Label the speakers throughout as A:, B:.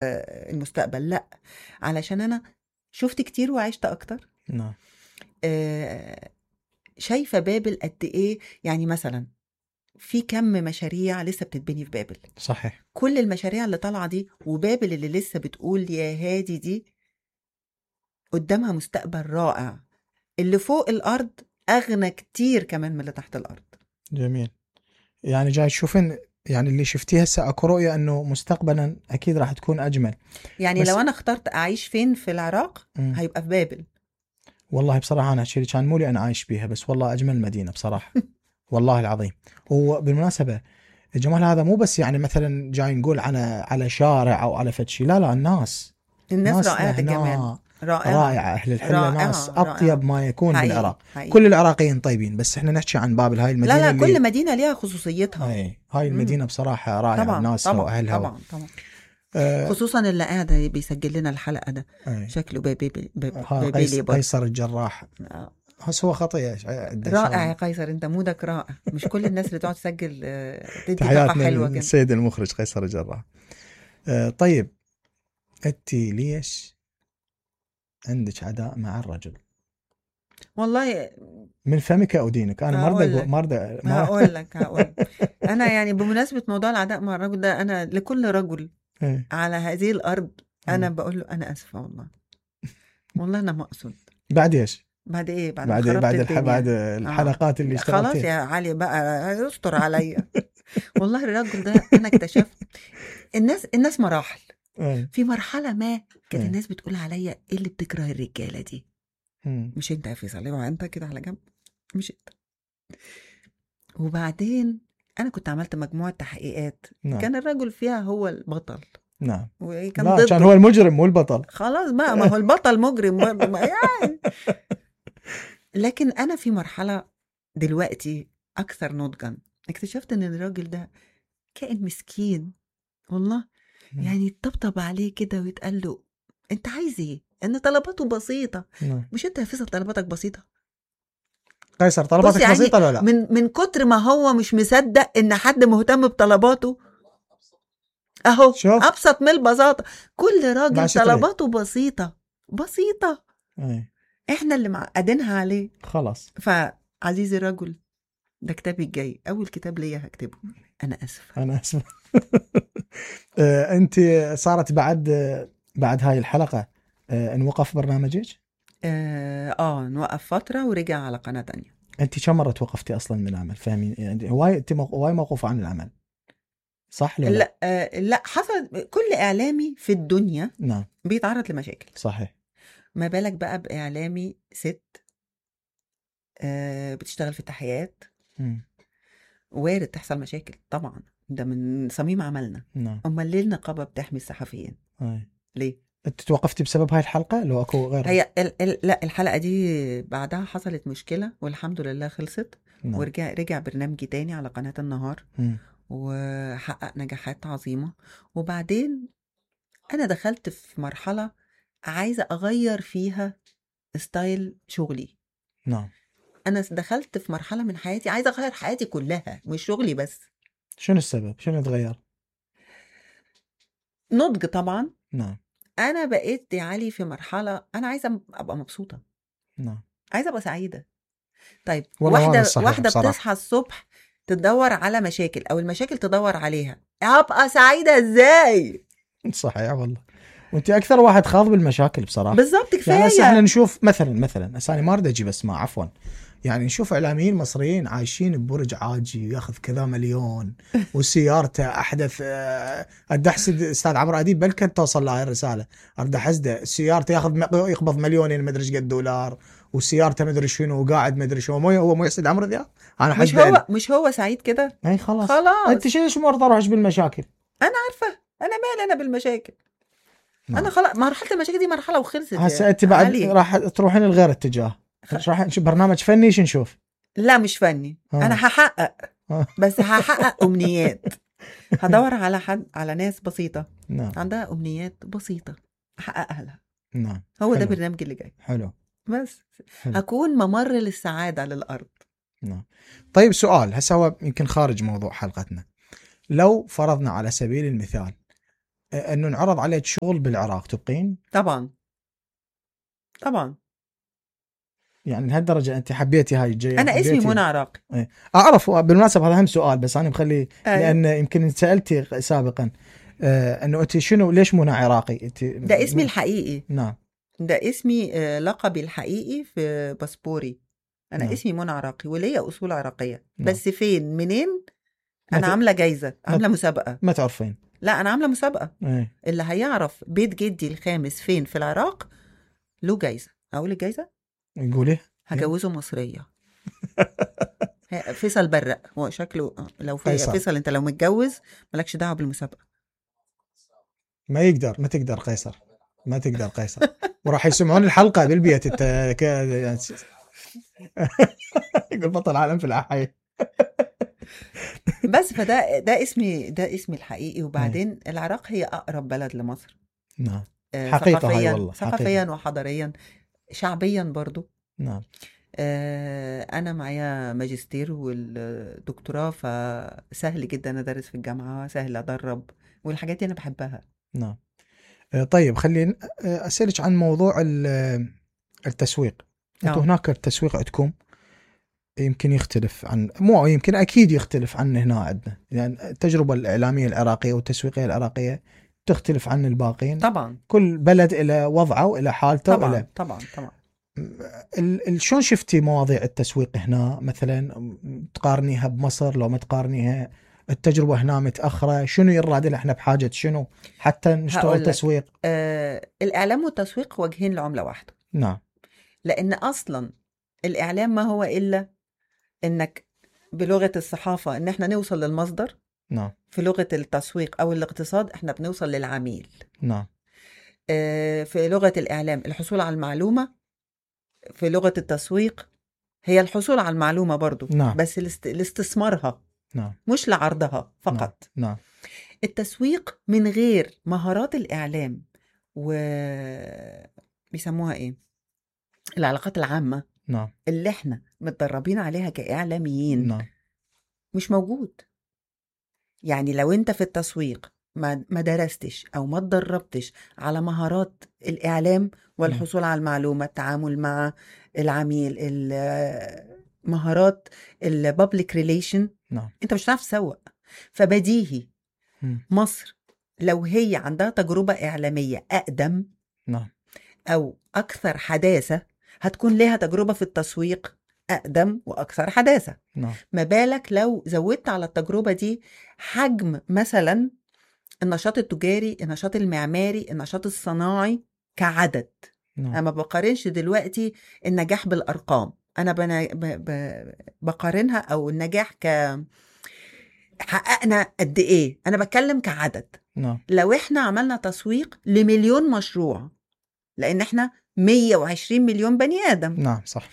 A: المستقبل، لا، علشان انا شفت كتير وعشت اكتر.
B: نعم.
A: شايفة بابل قد ايه، يعني مثلا في كم مشاريع لسه بتتبني في بابل.
B: صحيح.
A: كل المشاريع اللي طالعة دي وبابل اللي لسه بتقول يا هادي دي قدامها مستقبل رائع. اللي فوق الأرض أغنى كتير كمان من اللي تحت الأرض.
B: جميل. يعني جاي تشوفين يعني اللي شفتيه هسه اكو رؤية انه مستقبلا اكيد راح تكون اجمل.
A: يعني لو انا اخترت اعيش فين في العراق هيبقى في بابل.
B: والله بصراحة انا هالشي كان مولي انا عايش بيها، بس والله اجمل مدينة بصراحة. والله العظيم. وبالمناسبة الجمال هذا مو بس يعني مثلا جاي نقول على شارع او على فتشي، لا
A: الناس رائعة الجمال،
B: رائعة. أهل الحلة ناس أطيب ما يكون
A: حقيقي.
B: بالعراق.
A: حقيقي.
B: كل العراقيين طيبين، بس احنا نحكي عن بابل هاي المدينة.
A: لا
B: اللي
A: كل مدينة ليها خصوصيتها.
B: هاي المدينة بصراحة رائعة، ناسها وأهلها.
A: طبعا. خصوصا اللي قاعد بيسجل لنا الحلقة ده شكله بابيلي
B: قيصر الجراح. هس هو خطية
A: رائع يا قيصر، انت مودك رائع. مش كل الناس اللي تقعد تسجل تدي
B: طاقة حلوة كده. السيد المخرج قيصر الجراح. طيب انت ليش عندك عداء مع الرجل؟
A: والله
B: من فمك او دينك. انا
A: هقول لك انا يعني بمناسبة موضوع العداء مع الرجل ده، انا لكل رجل على هذه الارض انا بقول له انا اسفة والله انا ما اقصد.
B: بعد ايش؟
A: بعد ايه؟
B: بعد الحلقات اللي اشتغلتها.
A: خلاص يا علي بقى يستر عليا. والله الرجل ده انا اكتشفت الناس مراحل. في مرحلة ما كانت الناس بتقول عليا ايه اللي بتكره الرجالة دي. مش انت يا فيصل، انت كده على جنب، مش انت. وبعدين انا كنت عملت مجموعة تحقيقات. كان الرجل فيها هو البطل.
B: نعم.
A: وكان
B: كان هو المجرم مو البطل.
A: خلاص بقى، ما هو البطل مجرم يعني. لكن انا في مرحلة دلوقتي اكثر نضجا اكتشفت ان الراجل ده كائن مسكين والله. يعني يطبطب عليه كده ويتقال له انت عايز ايه؟ ان طلباته بسيطة. مش انت يا فيصل طلباتك بسيطة؟
B: قيصر طلباتك يعني بسيطة ولا لا؟
A: من كتر ما هو مش مصدق ان حد مهتم بطلباته اهو شوف. ابسط من البساطة. كل راجل طلباته بسيطة. احنا اللي معقدينها عليه
B: خلاص.
A: فعزيزي الرجل، ده كتابي الجاي، اول كتاب ليا هكتبه. انا اسفة.
B: انت صارت بعد هاي الحلقة نوقف برنامجك؟
A: نوقف فترة ورجع على قناة تانية.
B: انت كم مرة توقفتي اصلا من العمل؟ فاهمين يعني هواي موقوفة عن العمل صح
A: لا؟ لا حصل. كل اعلامي في الدنيا
B: نعم
A: بيتعرض لمشاكل.
B: صحيح.
A: ما بالك بقى باعلامي ست بتشتغل في التحيات. وارد تحصل مشاكل طبعا، ده من صميم عملنا.
B: نعم.
A: امال ليه النقابة بتحمي الصحفيين؟ ليه؟
B: انت توقفتي بسبب هاي الحلقة لو اكو غير؟
A: هي لا، الحلقة دي بعدها حصلت مشكلة والحمد لله خلصت. نعم. ورجع برنامجي تاني على قناة النهار. وحقق نجاحات عظيمة. وبعدين انا دخلت في مرحلة عايزة اغير فيها ستايل شغلي.
B: نعم.
A: انا دخلت في مرحلة من حياتي عايزة اغير حياتي كلها مش شغلي بس.
B: شنو السبب؟ شنو اتغير؟
A: نضج طبعا.
B: نعم.
A: انا بقيت يا علي في مرحلة انا عايزة ابقى مبسوطة.
B: نعم.
A: عايزة ابقى سعيدة. طيب واحدة بتصحى الصبح تدور على مشاكل او المشاكل تدور عليها، ابقى سعيدة ازاي؟
B: صحيح والله. وانت اكثر واحد خاض بالمشاكل بصراحة.
A: بالضبط كفاية.
B: يعني احنا نشوف مثلا اساني ما اريد اجي بس ما عفوا، يعني نشوف اعلاميين مصريين عايشين ببرج عاجي ياخذ كذا مليون وسيارته احدث. ادحسد استاذ عمرو اديب بل كانت توصل له هاي الرساله. ارد احسده سيارته يقبض مليونين ما ادري ايش قد دولار، وسيارته ما ادري شنو وقاعد ما ادري شنو. هو مو يحسد عمرو ذا. انا
A: مش هو سعيد كده.
B: اي خلاص انت شنو مرضى روحش بالمشاكل.
A: انا عارفه انا مالي انا بالمشاكل. انا خلاص مرحله المشاكل دي مرحله وخلصت.
B: هسه انت بعد راح تروحين لغير اتجاه. راح نشوف برنامج فني. شو نشوف؟
A: لا مش فني. انا هحقق بس هحقق امنيات. هدور على ناس بسيطه.
B: نعم.
A: عندها امنيات بسيطه احققها لها.
B: نعم.
A: هو ده برنامجي اللي جاي.
B: حلو.
A: بس هكون ممر للسعاده للارض.
B: نعم. طيب سؤال هسه هو يمكن خارج موضوع حلقتنا. لو فرضنا على سبيل المثال انه انعرض عليك شغل بالعراق تبقين؟
A: طبعا طبعا.
B: يعني لهالدرجه انت حبيتي هاي الجايه؟
A: انا اسمي
B: حبيتي
A: منى عراقي.
B: اعرف بالمناسبه هذا هم سؤال بس انا مخلي
A: أيوة.
B: لان يمكن سالتي سابقا انه انت شنو ليش منى عراقي انت؟
A: ده اسمي الحقيقي.
B: نعم.
A: ده اسمي لقبي الحقيقي في باسبوري. انا
B: نعم.
A: اسمي منى عراقي وليا اصول عراقيه.
B: نعم.
A: بس فين منين؟
B: ما
A: انا عامله جايزه، عامله مسابقه.
B: ما تعرفين؟
A: لا انا عامله مسابقه.
B: ايه.
A: اللي هيعرف بيت جدي الخامس فين في العراق له جايزه. اقول الجايزه؟
B: قولي.
A: هجوزه مصريه. فيصل برق هو شكله. لو في
B: قيصر.
A: فيصل انت لو متجوز مالكش دعوه بالمسابقه.
B: ما تقدر قيصر، ما تقدر قيصر. وراح يسمعون الحلقه بالبيت يقول بطل عالم في الحي.
A: بس ده اسمي الحقيقي. وبعدين العراق هي اقرب بلد لمصر.
B: نعم. حقيقه هاي والله.
A: ثقافيا وحضاريا، شعبيا برضو.
B: نعم.
A: انا معايا ماجستير والدكتوراه، فسهل جدا ادرس في الجامعه، سهل ادرب، والحاجات دي انا بحبها.
B: نعم. طيب خلينا اسالك عن موضوع التسويق. انتم هناك التسويق عندكم يمكن يختلف عن يمكن اكيد يختلف عن هنا عندنا، يعني التجربه الاعلاميه العراقيه والتسويقيه العراقيه تختلف عن الباقين.
A: طبعا
B: كل بلد له وضعه وله حالته.
A: طبعا.
B: شلون شفتي مواضيع التسويق هنا مثلا؟ تقارنيها بمصر لو ما تقارنيها؟ التجربه هنا متاخره، شنو يراد احنا بحاجه شنو حتى نشتغل تسويق؟
A: الاعلام والتسويق وجهين لعمله واحده.
B: نعم.
A: لان اصلا الاعلام ما هو الا انك بلغه الصحافه ان احنا نوصل للمصدر.
B: نعم.
A: في لغه التسويق او الاقتصاد احنا بنوصل للعميل.
B: نعم.
A: في لغه الاعلام الحصول على المعلومه. في لغه التسويق هي الحصول على المعلومه برضو.
B: نعم.
A: بس الاستثمارها.
B: نعم.
A: مش لعرضها فقط.
B: نعم.
A: التسويق من غير مهارات الإعلام بيسموها إيه؟ العلاقات العامة.
B: نعم.
A: اللي احنا متدربين عليها كإعلاميين.
B: نعم.
A: مش موجود. يعني لو انت في التسويق ما درستش أو ما تدربتش على مهارات الإعلام والحصول على المعلومة، التعامل مع العميل، مهارات البابليك ريليشن،
B: نعم.
A: انت مش هتعرف تسوق. فبديهي مصر لو هي عندها تجربة إعلامية أقدم،
B: نعم،
A: أو أكثر حداثة، هتكون لها تجربة في التسويق أقدم وأكثر حداثة.
B: نعم.
A: ما بالك لو زودت على التجربة دي حجم مثلا النشاط التجاري، النشاط المعماري، النشاط الصناعي كعدد.
B: نعم.
A: أنا ما بقارنش دلوقتي النجاح بالأرقام، أنا بقارنها أو النجاح حققنا قد ايه، انا بتكلم كعدد.
B: نعم.
A: لو احنا عملنا تسويق ل1,000,000 مشروع، لان احنا 120 مليون بني ادم.
B: نعم صح.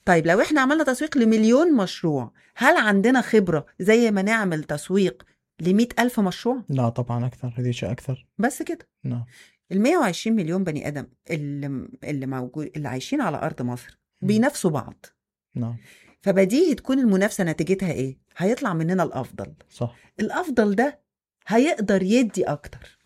A: طيب لو احنا عملنا تسويق ل1,000,000 مشروع، هل عندنا خبرة زي ما نعمل تسويق ل100,000 مشروع؟
B: لا طبعا اكثر، هذيك اكثر.
A: بس كده.
B: نعم.
A: 120 مليون بني ادم اللي موجود، اللي عايشين على ارض مصر، بينافسوا بعض.
B: نعم.
A: فبديهي تكون المنافسة نتيجتها ايه؟ هيطلع مننا الافضل.
B: صح.
A: الافضل ده هيقدر يدي اكتر.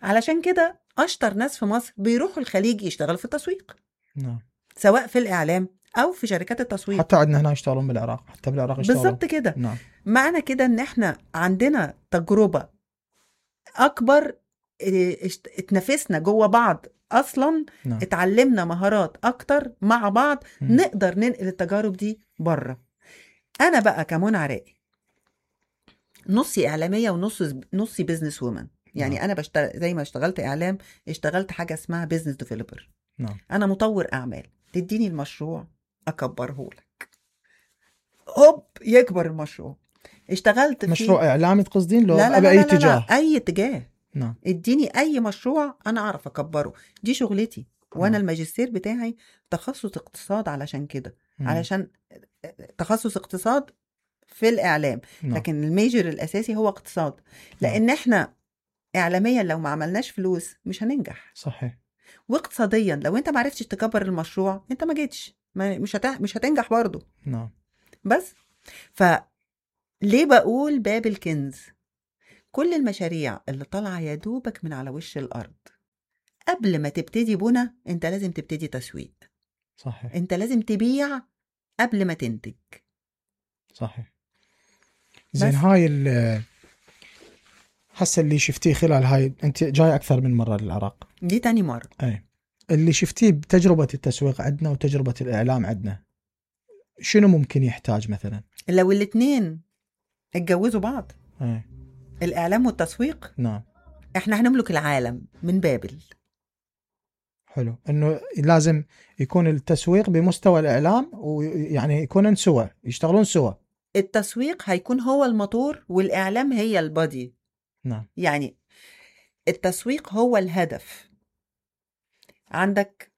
A: علشان كده اشطر ناس في مصر بيروحوا الخليج يشتغلوا في التسويق.
B: نعم.
A: سواء في الاعلام او في شركات التسويق.
B: حتى عندنا هنا يشتغلون بالعراق، حتى بالعراق يشتغلون.
A: بالضبط كده.
B: نعم.
A: معنى كده ان احنا عندنا تجربة اكبر، اتنافسنا جوه بعض اصلا.
B: نعم.
A: اتعلمنا مهارات اكتر مع بعض. نقدر ننقل التجارب دي بره. انا بقى كمنى عراقي نصي اعلاميه ونصي بيزنس وومن. يعني
B: نعم.
A: انا بشتغل زي ما اشتغلت اعلام، اشتغلت حاجه اسمها بيزنس ديفلوبر.
B: نعم.
A: انا مطور اعمال، تديني المشروع اكبره لك، هوب يكبر المشروع. اشتغلت في
B: مشروع اعلامي تقصدين؟ لو
A: لا
B: باي اتجاه؟
A: اي اتجاه.
B: نعم.
A: اديني اي مشروع انا اعرف اكبره، دي شغلتي. وانا
B: نعم.
A: الماجستير بتاعي تخصص اقتصاد، علشان كده. علشان تخصص اقتصاد في الإعلام.
B: نعم.
A: لكن الميجر الأساسي هو اقتصاد. لأن احنا إعلاميا لو ما عملناش فلوس مش هننجح.
B: صحيح.
A: واقتصاديا لو انت ما عرفتش تكبر المشروع انت ما جيتش، مش هتنجح برضو.
B: نعم.
A: بس فليه بقول باب الكنز؟ كل المشاريع اللي طالعة يا دوبك من على وش الأرض، قبل ما تبتدي بنا انت لازم تبتدي تسويق.
B: صحيح
A: انت لازم تبيع قبل ما تنتج.
B: صحيح. زين، هاي هسه اللي شفتيه خلال هاي، انت جاي اكثر من مرة للعراق،
A: دي تاني مرة.
B: اي اللي شفتيه بتجربة التسويق عندنا وتجربة الإعلام عندنا، شنو ممكن يحتاج مثلا؟
A: لو الاتنين اتجوزوا بعض،
B: اي
A: الإعلام والتسويق،
B: نعم،
A: احنا هنملك العالم من بابل.
B: حلو. انه لازم يكون التسويق بمستوى الإعلام، ويعني يكونون سوا، يشتغلون سوا.
A: التسويق هيكون هو الموتور والإعلام هي البادي.
B: نعم.
A: يعني التسويق هو الهدف. عندك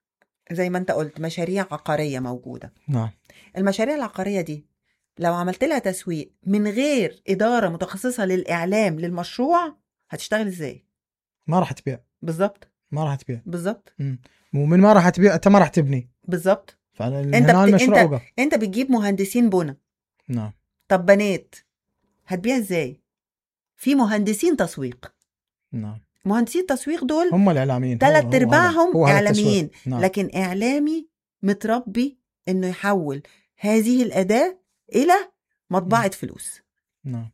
A: زي ما انت قلت مشاريع عقارية موجودة.
B: نعم.
A: المشاريع العقارية دي لو عملت لها تسويق من غير إدارة متخصصة للإعلام للمشروع، هتشتغل ازاي؟
B: ما راح تبيع.
A: بالظبط.
B: ما راح تبيع.
A: بالظبط.
B: ومن ما راح تبيع انت ما راح تبني.
A: بالظبط.
B: فعلا
A: انت بتجيب مهندسين بنا.
B: نعم.
A: طب بنات هتبيع ازاي؟ في مهندسين تسويق.
B: نعم.
A: مهندسين التسويق دول
B: هم الإعلاميين،
A: 3/4 إعلاميين.
B: نعم.
A: لكن إعلامي متربي إنه يحول هذه الأداة إلى مطبعة فلوس.
B: نعم.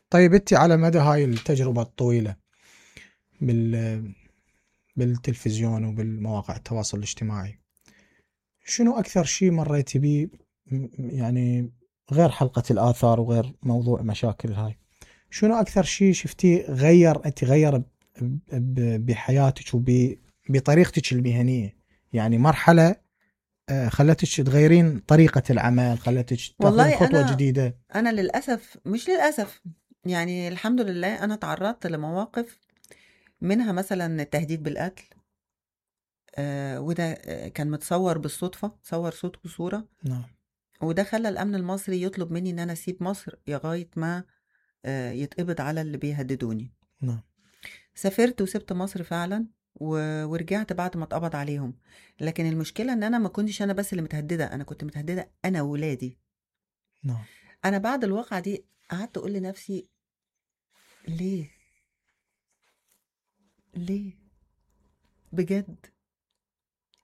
B: طيب انت على مدى هاي التجربة الطويلة بالتلفزيون وبالمواقع التواصل الاجتماعي، شنو أكثر شيء مريتي بيه، يعني غير حلقة الآثار وغير موضوع مشاكل هاي، شنو أكثر شيء شفتيه غير بحياتك وبطريقتك المهنية؟ يعني مرحلة خلتك تغيرين طريقة العمل، خلتك تاخذين خطوة جديدة.
A: أنا للأسف، مش للأسف، يعني الحمد لله أنا تعرضت لمواقف منها مثلا التهديد بالقتل. وده كان متصور بالصدفة، صور صوت وصورة.
B: نعم.
A: وده خلى الأمن المصري يطلب مني إن أنا أسيب مصر لغاية ما يتقبض على اللي بيهددوني.
B: نعم.
A: سافرت وسبت مصر فعلا ورجعت بعد ما اتقبض عليهم. لكن المشكلة ان انا ما كنتش انا بس اللي متهددة، انا كنت متهددة انا وولادي.
B: نعم.
A: انا بعد الواقعة دي قعدت اقول لنفسي ليه بجد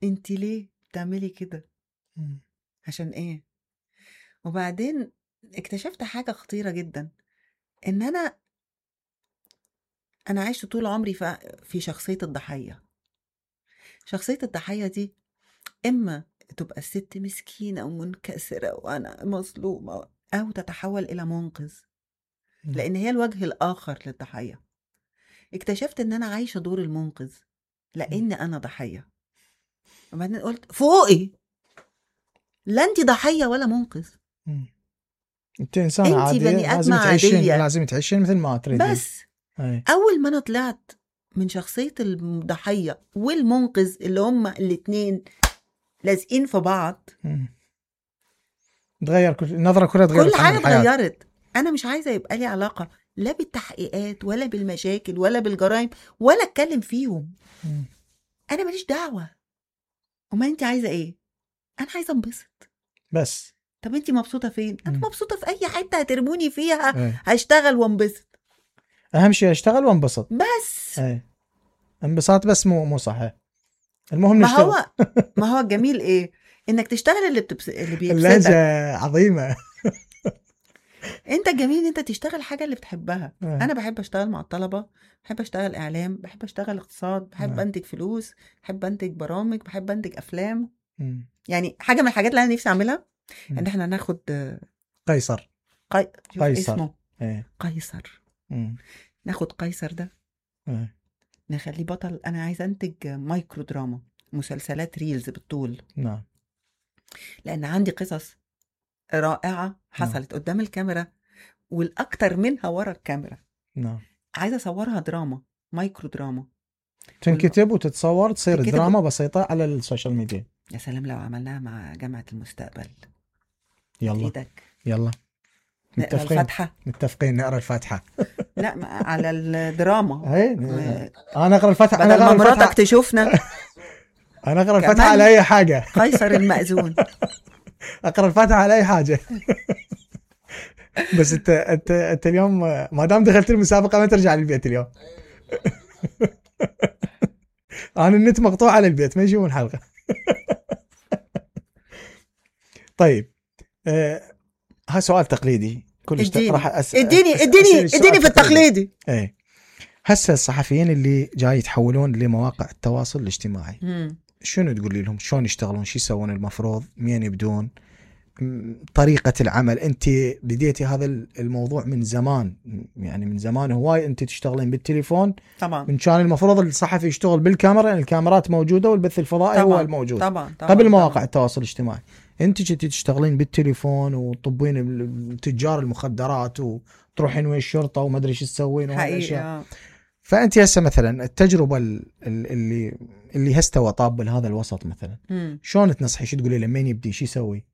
A: انتي ليه بتعملي كده؟ عشان ايه؟ وبعدين اكتشفت حاجة خطيرة جدا، ان انا عشت طول عمري في شخصية الضحية. شخصية الضحية دي إما تبقى الست مسكينة ومنكسرة وأنا مظلومة، أو تتحول إلى منقذ، لأن هي الوجه الآخر للضحية. اكتشفت إن أنا عايشة دور المنقذ لأن أنا ضحية. وبعدين قلت فوقي، لا أنت ضحية ولا منقذ،
B: أنت إنسان عادي،
A: بني آدم عادية،
B: لازم تعيشين مثل ما تريدين.
A: بس أول ما أنا طلعت من شخصية الضحية والمنقذ اللي هما الاتنين لازقين في بعض،
B: تغير النظرة كلها، تغيرت
A: كل حاجة اتغيرت. أنا مش عايزة يبقى لي علاقة لا بالتحقيقات ولا بالمشاكل ولا بالجرائم ولا اتكلم فيهم. أنا ماليش دعوة. وما أنت عايزة إيه؟ أنا عايزة انبسط
B: بس.
A: طب أنت مبسوطة فين؟ أنا مبسوطة في أي حتة هترموني فيها هشتغل وانبسط.
B: أهم شيء أشتغل وانبسط
A: بس.
B: انبساط بس مو صحيح. المهم نشتغل.
A: ما هو الجميل إيه؟ إنك تشتغل اللي بيبسطك.
B: اللهجة عظيمة.
A: انت جميل انت تشتغل حاجة اللي بتحبها. انا بحب اشتغل مع الطلبة، بحب اشتغل اعلام، بحب اشتغل اقتصاد، بحب انتج فلوس، بحب انتج برامج، بحب انتج افلام. يعني حاجة من الحاجات اللي انا نفسي اعملها ان احنا ناخد
B: قيصر.
A: اسمه قيصر. ناخد قيصر ده نخليه بطل. انا عايزة انتج مايكرو دراما، مسلسلات ريلز بالطول.
B: نعم.
A: لان عندي قصص رائعة حصلت قدام الكاميرا والأكتر منها ورا الكاميرا.
B: نعم.
A: عايزة أصورها دراما، مايكرو دراما،
B: تنكتب وتتصور، تصير دراما بسيطة على السوشيال ميديا.
A: يا سلام لو عملناها مع جامعة المستقبل.
B: يلا
A: إيدك.
B: يلا
A: نقرأ الفاتحة.
B: متفقين نقرأ الفاتحة.
A: لا على الدراما.
B: أنا أقرأ الفاتحة.
A: بدل ما مراتك تشوفنا.
B: أنا أقرأ الفاتحة على أي حاجة.
A: قيصر المأذون.
B: أقرأ الفاتحة على أي حاجة. بس انت اليوم ما دام دخلت المسابقه ما ترجع للبيت اليوم. انا النت مقطوع على البيت ما يشوفون حلقه. طيب ها سؤال تقليدي كلش راح
A: اديني في التقليدي.
B: ايه هسه الصحفيين اللي جاي يتحولون لمواقع التواصل الاجتماعي شنو تقولي لهم؟ شلون يشتغلون؟ شو يسوون؟ المفروض مين يبدون؟ طريقة العمل. انت بديتي هذا الموضوع من زمان، يعني من زمان هواي انت تشتغلين بالتليفون
A: طبعا.
B: من كان المفروض الصحفي يشتغل بالكاميرا، يعني الكاميرات موجودة والبث الفضائي
A: طبعًا.
B: هو الموجود
A: طبعًا.
B: قبل مواقع التواصل الاجتماعي. انت كنتي تشتغلين بالتليفون وتطبين تجار المخدرات وتروحين ويا الشرطة وما ادري ايش تسوين وهالاشياء. فانت هسه مثلا التجربة اللي هسه طاب بهذا الوسط مثلا شلون تنصحي؟ شو تقولي له مين يبدي؟ شو يسوي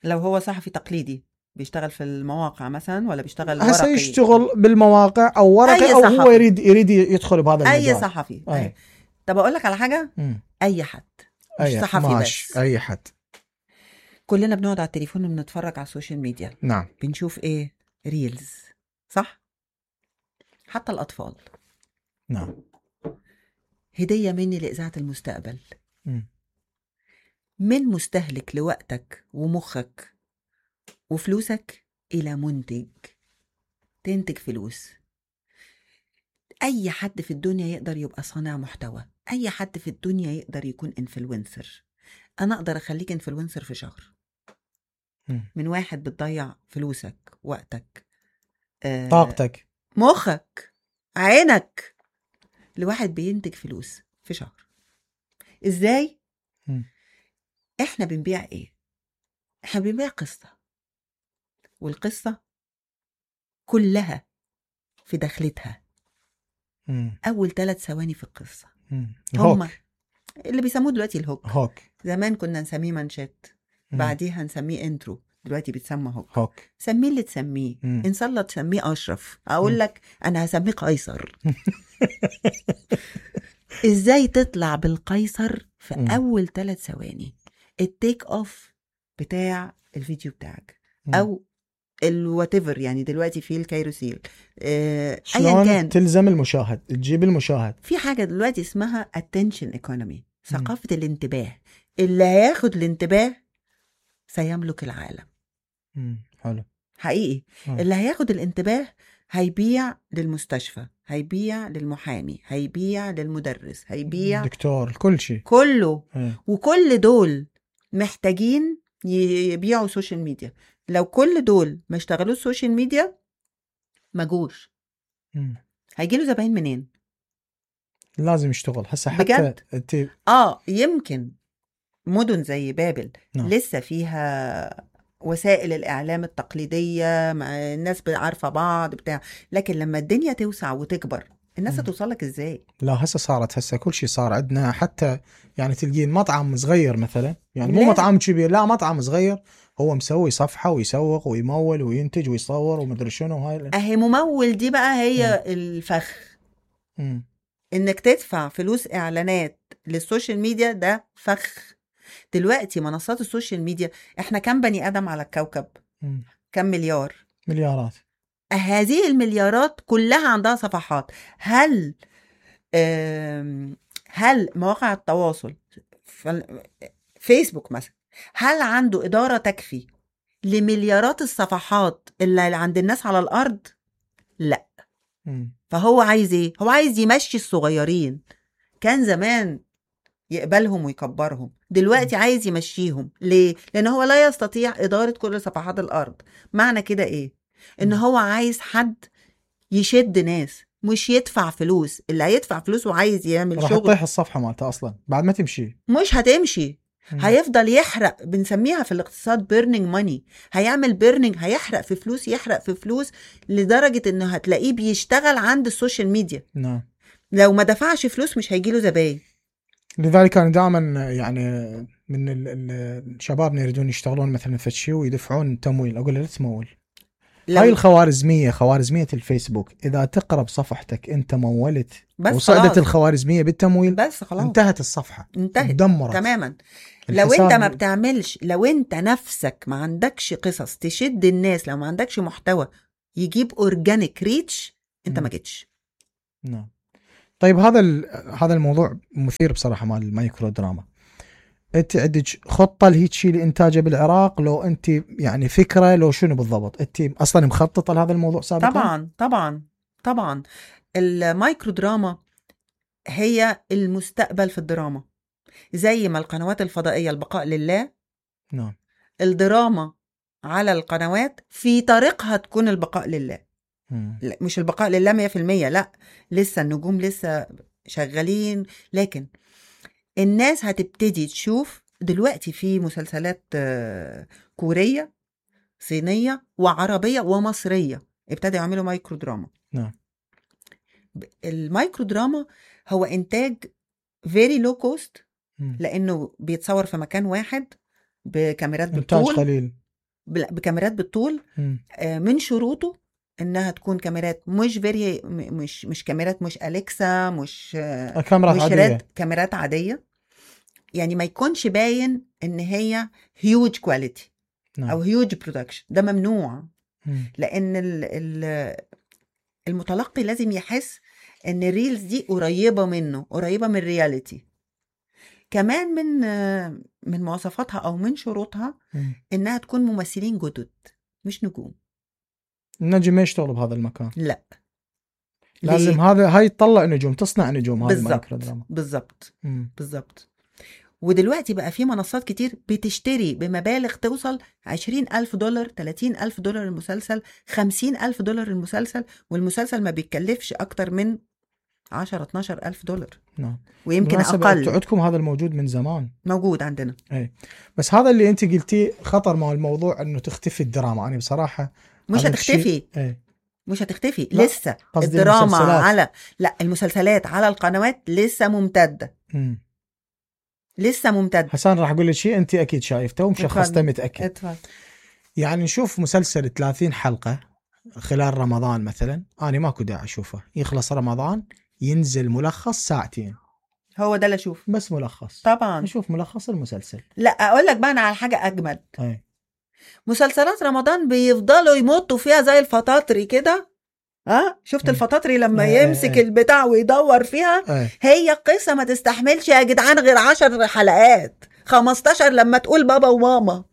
A: لو هو صحفي تقليدي بيشتغل في المواقع مثلا ولا بيشتغل
B: ورقي؟ هسه
A: يشتغل
B: بالمواقع او ورقي او هو يريد يدخل بهذا المجال.
A: اي صحفي. طب اقول لك على حاجه. اي حد مش صحفي بس،
B: اي حد.
A: كلنا بنقعد على التليفون وبنتفرج على السوشيال ميديا.
B: نعم.
A: بنشوف ايه؟ ريلز، صح؟ حتى الاطفال.
B: نعم.
A: هديه مني لاذاعه المستقبل. من مستهلك لوقتك ومخك وفلوسك إلى منتج تنتج فلوس. أي حد في الدنيا يقدر يبقى صانع محتوى، أي حد في الدنيا يقدر يكون انفلونسر. أنا أقدر أخليك انفلونسر في شهر. من واحد بتضيع فلوسك، وقتك،
B: طاقتك،
A: مخك، عينك، لواحد بينتج فلوس في شهر. إزاي؟ إحنا بنبيع إيه؟ إحنا بنبيع قصة، والقصة كلها في دخلتها أول 3 ثواني في القصة. هم اللي بيسموه دلوقتي الهوك. زمان كنا نسميه منشات، بعديها نسميه انترو، دلوقتي بيتسمى هوك. سميه اللي تسميه. إن شاء الله تسميه أشرف، أقول لك أنا هسميه قيصر. إزاي تطلع بالقيصر في أول 3 ثواني؟ التيك أوف بتاع الفيديو بتاعك أو الواتيفر، يعني دلوقتي في الكايروسيل،
B: ايا كان تلزم المشاهد، تجيب المشاهد.
A: في حاجه دلوقتي اسمها attention economy، ثقافه الانتباه. اللي هياخد الانتباه سيملك العالم.
B: حلو
A: حقيقي. اللي هياخد الانتباه هيبيع للمستشفى، هيبيع للمحامي، هيبيع للمدرس، هيبيع
B: دكتور، كل شيء
A: كله. وكل دول محتاجين يبيعوا سوشيال ميديا. لو كل دول ما اشتغلوا السوشيال ميديا ما جوش. هيجيله زباين منين؟
B: لازم يشتغل هسه حتى
A: بجد. يمكن مدن زي بابل لسه فيها وسائل الإعلام التقليدية، مع الناس عارفة بعض بتاع، لكن لما الدنيا توسع وتكبر الناس هتوصلك ازاي؟
B: لا هسه كل شيء صار عندنا. حتى يعني تلقين مطعم صغير مثلا، يعني مو مطعم كبير، لا مطعم صغير هو مسوي صفحة ويسوق ويمول وينتج ويصور ومدري شنو. هاي
A: اهي ممول دي بقى هي الفخ. انك تدفع فلوس اعلانات للسوشيال ميديا ده فخ. دلوقتي منصات السوشيال ميديا، احنا كم بني ادم على الكوكب؟ كم مليارات. هذه المليارات كلها عندها صفحات. هل مواقع التواصل فيسبوك مثلا هل عنده إدارة تكفي لمليارات الصفحات اللي عند الناس على الأرض؟ لا. فهو عايز ايه؟ هو عايز يمشي الصغيرين. كان زمان يقبلهم ويكبرهم، دلوقتي عايز يمشيهم. ليه؟ لأن هو لا يستطيع إدارة كل صفحات الأرض. معنى كده ايه؟ ان هو عايز حد يشد ناس، مش يدفع فلوس. اللي هيدفع فلوس وعايز يعمل شغل
B: راح تطيح الصفحة مالته أصلا بعد ما تمشي.
A: مش هتمشي. هيفضل يحرق. بنسميها في الاقتصاد burning money. هيعمل burning، هيحرق في فلوس، يحرق في فلوس لدرجة انه هتلاقيه بيشتغل عند السوشيال ميديا.
B: نعم.
A: لو ما دفعش فلوس مش هيجيله زباين.
B: لذلك كان دائما يعني من الشباب يريدون يشتغلون مثلا في شيء ويدفعون تمويل، اقول له لا تمول، هاي الخوارزمية، خوارزمية الفيسبوك، إذا تقرب صفحتك أنت مولت وصعدت الخوارزمية بالتمويل
A: بس خلاص
B: انتهت الصفحة،
A: انتهت
B: دمرت
A: تماما. لو انت ما بتعملش، لو انت نفسك ما عندكش قصص تشد الناس، لو ما عندكش محتوى يجيب اورجانيك ريتش، انت ما جيتش.
B: نعم. طيب هذا الموضوع مثير بصراحة مال المايكرو دراما. انت عندك خطة لهيك شيء لإنتاجه بالعراق؟ لو انت يعني فكرة لو شنو بالضبط انت اصلا مخططة لهذا الموضوع سابقا؟
A: طبعا المايكرو دراما هي المستقبل في الدراما، زي ما القنوات الفضائية البقاء لله.
B: نعم.
A: الدراما على القنوات في طريقها تكون البقاء لله. لا مش البقاء لله 100%، لا لسه النجوم لسه شغالين، لكن الناس هتبتدي تشوف دلوقتي في مسلسلات كورية صينية وعربية ومصرية ابتدوا يعملوا مايكرو دراما.
B: نعم.
A: المايكرو دراما هو إنتاج very low cost، لأنه بيتصور في مكان واحد بكاميرات بالطول،
B: قليل
A: بكاميرات بالطول. من شروطه إنها تكون كاميرات مش كاميرات، مش أليكسا، مش
B: عادية.
A: كاميرات عادية، يعني ما يكونش باين إن هي huge quality أو huge production. ده ممنوع، لأن المتلقي لازم يحس إن الريلز دي قريبة منه، قريبة من الرياليتي. كمان من مواصفاتها أو من شروطها إنها تكون ممثلين جدد مش نجوم.
B: النجم ما يشتغل بهذا المكان،
A: لا
B: لازم هاي تطلع نجوم، تصنع نجوم. هاي المايكرو دراما
A: بالضبط. ودلوقتي بقى في منصات كتير بتشتري بمبالغ توصل $20,000 $30,000 المسلسل، $50,000 المسلسل، والمسلسل ما بيتكلفش أكتر من $10-12,000.
B: نعم.
A: ويمكن أقل.
B: عندكم هذا الموجود من زمان،
A: موجود عندنا.
B: اي بس هذا اللي انت قلتيه خطر مع الموضوع انه تختفي الدراما. انا بصراحة
A: مش هتختفي. مش هتختفي لسه الدراما لا المسلسلات على القنوات لسه ممتدة. لسه ممتد.
B: حسان راح أقول لك شيء أنت أكيد شايفته ومشخصته متأكد.
A: اتفضل.
B: يعني نشوف مسلسل 30 حلقة خلال رمضان مثلا، أنا ماكو داعي أشوفه، يخلص رمضان ينزل ملخص ساعتين،
A: هو ده اللي أشوف
B: بس ملخص.
A: طبعا
B: نشوف ملخص المسلسل.
A: لا أقول لك بقى أنا على حاجة أجمل. مسلسلات رمضان بيفضلوا يمطوا فيها زي الفطاطري كده. شفت الفطاطري لما يمسك البتاع ويدور فيها؟ هي قصة ما تستحملش يا جدعان غير 10 حلقات 15 لما تقول بابا وماما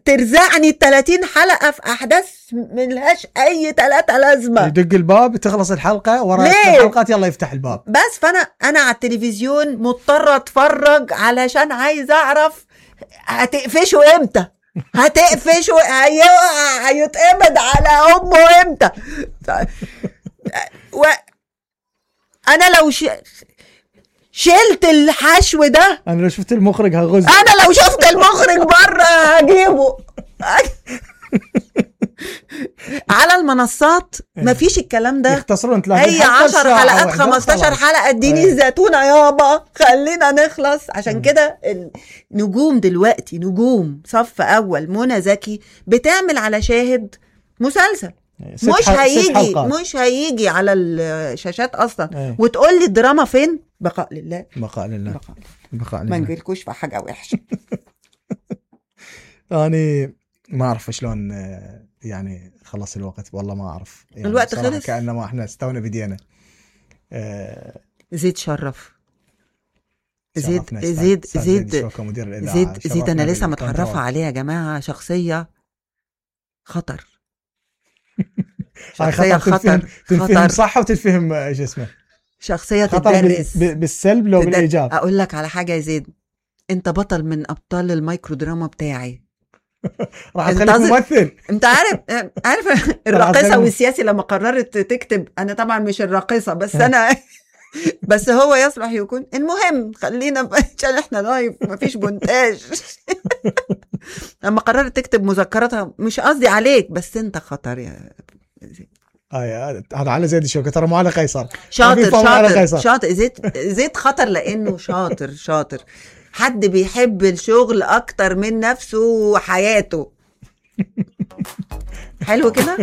A: ترزعني 30 حلقة في أحداث ملهاش أي 3 لازمة.
B: يدق الباب تخلص الحلقة ورا الحلقات يلا يفتح الباب
A: بس. فأنا على التلفزيون مضطرة أتفرج علشان عايز أعرف هتقفشوا إمتى، هتقفشوا هيتقبض على أمه إمتى. أنا لو شلت الحشو ده،
B: أنا لو شفت المخرج هغز،
A: أنا لو شفت المخرج برا هجيبه. على المنصات مفيش الكلام ده،
B: يختصرون
A: هي 10 حلقات 15 حلقة اديني الزيتونة يابا خلينا نخلص. عشان كده النجوم دلوقتي نجوم صف أول، منى زكي بتعمل على شاهد مسلسل مش هيجي على الشاشات أصلا. وتقول لي الدراما فين؟ بقاء لله. ما نقولكوش في حاجة وحشة.
B: أنا ما أعرف شلون يعني خلص الوقت، والله ما أعرف يعني
A: الوقت خلص
B: كأنما إحنا استونا بدينا.
A: زيد شرف زيد أنا لسه متعرفة عليه يا جماعة. شخصية خطر.
B: شخصية خطر تنفهم صح وتنفهم ايش اسمه،
A: شخصية تدرس
B: بالسلب لو بالإيجاب.
A: أقول لك على حاجة يا زيد، أنت بطل من أبطال المايكرو دراما بتاعي.
B: راح تخليك ممثل.
A: انت عارف الراقصة والسياسي لما قررت تكتب، انا طبعا مش الراقصة بس انا بس هو يصلح يكون. المهم خلينا عشان احنا لايف مفيش مونتاج. لما قررت تكتب مذكراتها، مش قصدي عليك بس انت خطر يا زيد.
B: هذا على زيد الشوكة ترى، مو على قيصر.
A: شاطر زيد خطر لانه شاطر حد بيحب الشغل اكتر من نفسه وحياته. حلو كده.